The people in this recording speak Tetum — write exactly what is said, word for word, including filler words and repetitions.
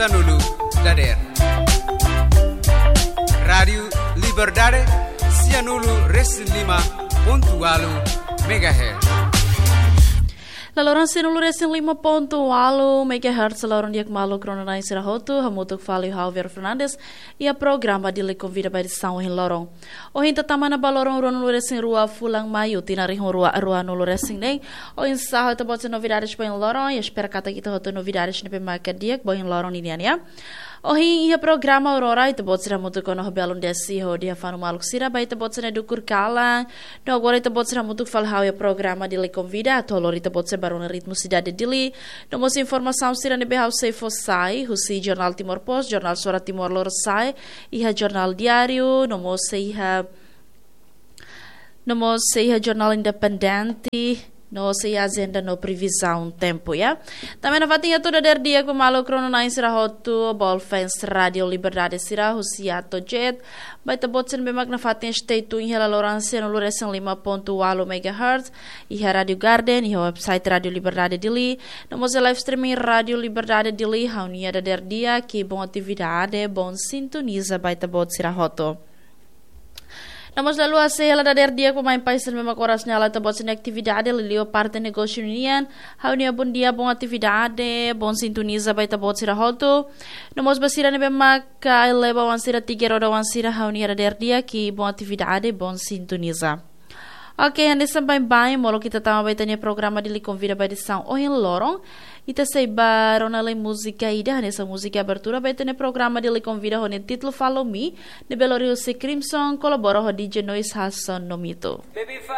Sanulu dader. Rádiu Liberdade, sianulu resin lima pontu walu megahertz. Laloran sianulu resin lima pontu walu megahertz, laloran di'ak maluk rona-na'in sira hotu, hamutuk fali ho Javier Fernandes, iha programa Dili Konvida ba edisaun ohin loron. Ohin ita tama ona ba loron ruanulu resin rua fulan Maiu, tinan rihun rua ruanulu resin neen. Oinsá ho ita-boot nia novidades ba ohin loron, i espera katak ita hotu novidades ne'ebé maka di'ak ba ohin loron ninian, ya. Ohin iha programa Aurora, ita-boot sira hamutuk ona ho Belun Desi hodi hafanu maluk sira ba ita-boot sira-nia dukur kalan. No agora ita-boot sira hamutuk fali ho iha programa Dili Konvida, atu lori ita-boot sira ba rona ritmu sidade Dili. No mós informasaun sira ne'ebé ha'u sei fó sai, husi Jornál Timor Post, Jornál Sora Timor Lorosa'e, iha Jornál Diáriu, no mós iha, no mós iha Jornál Independente, no mós iha ajenda no previzaun tempu, ya. Tanba ne'e nafatin atu dader di'ak ba maluk rona-na'in sira hotu, Bol fans Rádiu Liberdade sira, husi Atojet, ba ita-boot sira ne'ebé mak nafatin stay tune iha laloran sianulu resin lima pontu walu megahertz, iha Rádiu Garden, iha website Rádiu Liberdade Dili, no mós iha live streaming Rádiu Liberdade Dili, ha'u-nia dader di'ak, i bom atividade, bom sintoniza ba ita-boot sira hotu. No mós la haluha sei hela dader di'ak ba maun-alin sira ne'ebé mak oras ne'e hala'o ita-boot sira-nia atividade, liuliu parte negósiu nian, ha'u-nia bondia, bom atividade, bom sintoniza ba ita-boot sira hotu. No mós ba sira ne'ebé mak eleva oan sira, tiga roda oan sira, ha'u-nia dader di'ak, i bom atividade, bom sintoniza. Oke, hanesan baibain, molok ita tama ba ita-nia programa Dili Konvida ba edisaun ohin loron. Ita sei ba rona lai múzika ida, hanesan múzika abertura ba ita-nia programa Dili Konvida ho nia títulu Follow Me, ne'ebé lori husi Crimson, kolabora ho D J Noise, Hassan no Mito.